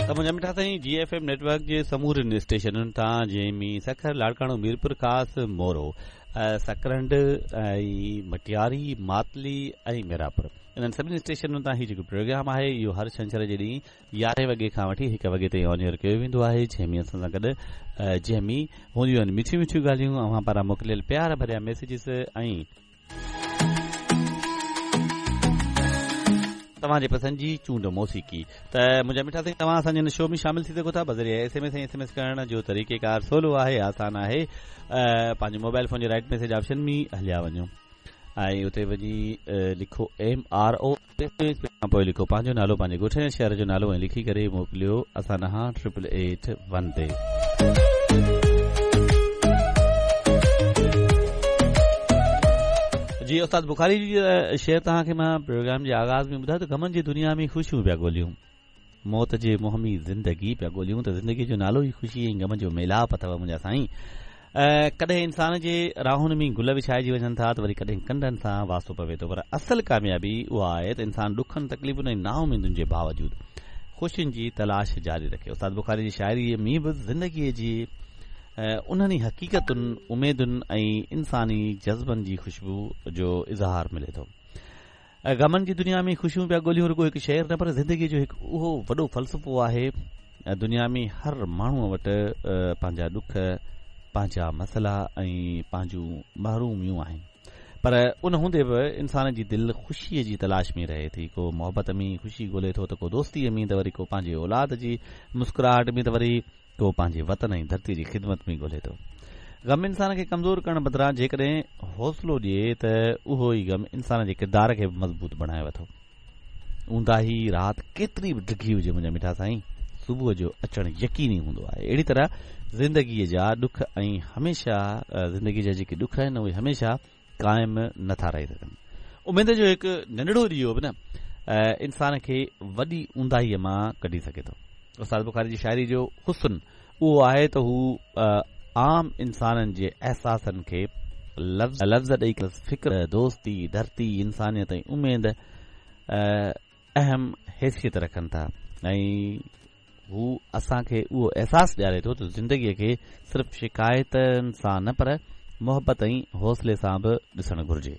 ته منهنجا مٺا سائين جي ايف ايم نيٽ ورڪ جي سمورين اسٽيشنن تان جنهن ۾ سکر، لاڙڪاڻو، ميرپورخاص، مورو، سڪرنڊ ۽ مٽياري، ماتلي ۽ ميرانپور انهن سڀني اسٽيشنن تان هي جيڪو پروگرام آهي اهو هر ڇنڇر جي ڏينهن يارهين وڳي کان وٺي هڪ وڳي تائين آن ايئر ڪيو ويندو آهي جنهن ۾ اسان سان گڏ جنهن ۾ هونديون آهن مٺيون مٺيون ڳالهيون اوهان پاران موڪليل پيار ڀريا ميسيجز ۽ توهان جي پسند جي چونڊ موسيقي ته منهنجا مٺا سائين توهان اسان جي هن شو ۾ شامل ٿي سگهو ٿا بذريعي S M S ۽ S M S ڪرڻ جو طريقه ڪار سولو آهي آسان آهي پنهنجي موبائل فون جي رائٽ ميسيج آپشن ۾ هليا وڃو ۽ اتي وڃي لکو ايم آر او اسپيس کان پوء لکو پنهنجو نالو پنهنجي ڳوٺ يا شهر جو نالو ۽ لکي ڪري موڪليو اسان ڏانهن ٽرپل ايٽ ون تي. جي استاد بخاري جي شعر توهان کي مان پروگرام جي آغاز ۾ ٻڌايو ته غمن جي دنيا ۾ خوشيون پيا ڳوليون. موت جي منهن ۾ زندگي پيا ڳوليون ته زندگي جو نالو ئي خوشي ۽ غم جو ميلاپ اٿو منهنجا سائين. ڪڏهن انسان جي راهن ۾ گل وڇائجي وڃن ٿا ته وري ڪڏهن ڪنڊن سان واسطو پوي ٿو پر اصل ڪاميابي اها آهي ته انسان ڏکن، تڪليفن ۽ نااميدين جي باوجود خوشين جي تلاش جاري رکي. استاد بخاري جي شاعريء ۾ به زندگيء جي انهن ئي حقيقتن، اميدن ۽ انساني جذبن جي خوشبو جو اظهار ملي ٿو. غمن جي دنيا ۾ خوشيون پيا ڳوليون رڳو هڪ شعر نه پر زندگيء جو هڪ اهو وڏو فلسفو آهي. دنيا ۾ هر ماڻهوء وٽ پنهنجا ڏک، پنهنجا مسئلا ۽ پنهنجون محروميون آهن. پر ان هوندي به انسان جي دل خوشيء جي تلاش ۾ رهي ٿي. ڪو محبت ۾ خوشي ڳولي ٿو ته ڪو دوستيء ۾ ته وري ڪو پنهنجي اولاد جي مسڪراهٽ ۾ ته وري ڪو پنهنجي وطن ۽ ڌرتيء جي خدمت ۾ ڳولي ٿو. غم انسان کي ڪمزور ڪرڻ بدران جيڪڏهن حوصلو ڏئي ته اهو ئي غم انسان جي ڪردار کي به مضبوط بڻايو ٿو. اونداهي رات ڪيتري به ڊگهي هجي منهنجا مٺا سائين، صبح جو اچڻ يقيني هوندو آهي. اهڙي طرح زندگيء جا ڏک ۽ هميشه زندگيء جا جيڪي ڏک آهن اهي هميشه قائم نه ٿا رهي سگهن. اميد جو هڪ ننڍڙو ڏيئو به نه انسان کي وڏي اونداهيء مان ڪڍي سگهي ٿو. استاد بخاري جي شاعري جو حسن اهو آهي ته هو عام انسانن جي احساسن کي لفظ ڏئي فڪر، دوستي، ڌرتي، انسانيت ۽ اميد اهم حيثيت رکن ٿا ۽ هو اسان کي اهو احساس ڏياري ٿو ته زندگيء کي صرف شڪايتن سان نه پر محبت ۽ حوصلي سان به ڏسڻ گهرجي.